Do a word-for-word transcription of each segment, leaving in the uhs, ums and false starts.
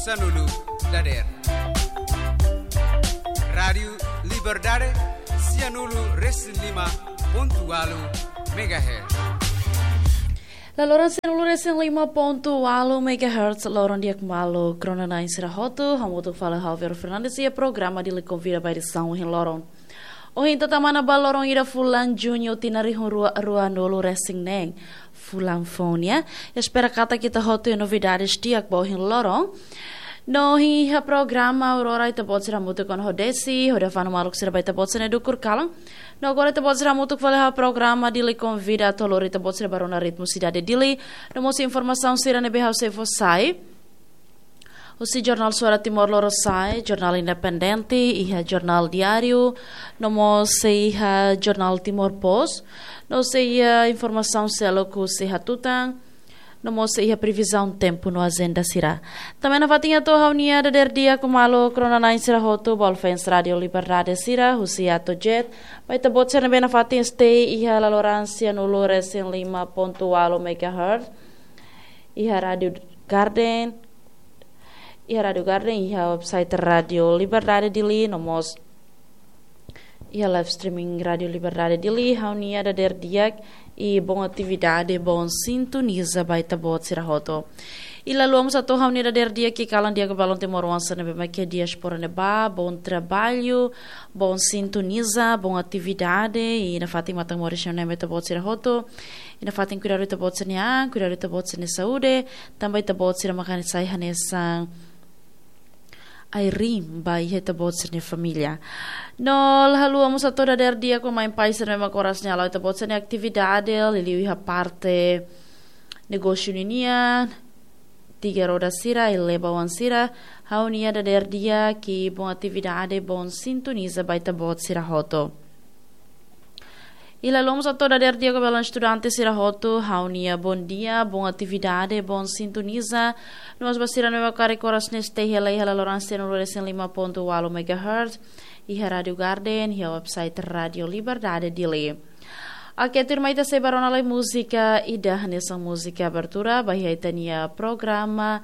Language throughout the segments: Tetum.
Sanulu dader. Rádiu Liberdade, sianulu resin lima pontu walu megahertz. Laloran sianulu resin lima pontu walu megahertz, loron di'ak maluk rona-na'in sira hotu, hamutuk fali Javier Fernandes iha programa Dili Konvida ba edisaun ohin loron. Ohin ita tama ona ba loron ida fulan Juñu tinan rihun rua, ruanulu resin neen. Fulan foun, ya. Espera katak ita hotu iha novidades di'ak ba ohin loron. No iha programa Aurora ita-boot sira hamutuk ona ho Desi, hodi fanu maluk sira ba ita-boot sira-nia dukur kalan. No agora ita-boot sira hamutuk fali iha programa Dili Konvida atu lori ita-boot sira ba rona ritmu sidade Dili. No mós informasaun sira ne'ebé ha'u sei fó sai. Husi jornál Suara Timor Lorosa'e, jornál independente, iha jornál diáriu, no mós sei iha jornál Timor Post, no sei iha informasaun seluk husi hatutan, no mós sei iha previzaun tempu no ajenda sira. Tanba iha nafatin atu ha'u-nia dader di'ak maluk rona-na'in sira hotu, ba fans Rádiu Liberdade sira, husi Atojet, ba ita-boot sira ne'ebé nafatin stay iha laloran sianulu resin lima pontu walu megahertz, iha Rádiu Garden, iha Rádiu Garden, iha website Rádiu Liberdade Dili, no mós iha live streaming Rádiu Liberdade Dili, ha'u-nia dader di'ak i boa atividade, boa sintoniza ba ita-boot sira hotu. I la haluha mós atu ha'u-nia dader di'ak i kalan di'ak ba balun timoroan sira ne'ebé mak iha diáspora ne'ebá, boa trabalho, boa sintoniza, boa atividade, i nafatin matan moris ne'e ba ita-boot sira hotu, i nafatin kuidadu ita-boot sira-nia an, kuidadu ita-boot sira-nia saúde, tanba ita-boot sira mak hanesan, sai hanesan ai-riin ba iha ita-boot sira-nia família. No la haluha mós atu dader di'ak ba mãe pai sira ne'ebé mak oras ne'e hala'o ita-boot sira-nia atividade, liuliu iha parte negósiu ninian, tiga roda sira, i leba oan sira, ha'u-nia dader di'ak i boa atividade, boa sintoniza ba ita-boot sira hotu. I la haluha mós atu dader di'ak ba balun estudante sira hotu, ha'u-nia bondia, boa atividade, boa sintoniza. No mós ba sira ne'ebé mak karik oras ne'e stay hela iha laloran sianulu resin lima pontu walu megahertz, iha Rádiu Garden, iha website Rádiu Liberdade Dili. Oke, tuirmai ita sei ba rona lai múzika ida hanesan múzika abertura ba iha ita-nia programa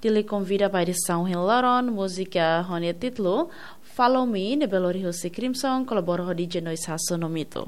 Dili Konvida ba edisaun ohin loron, múzika ho nia títulu Follow Me, ne'ebé lori husi Crimson, kolabora ho D J Noise Hasso no Mito.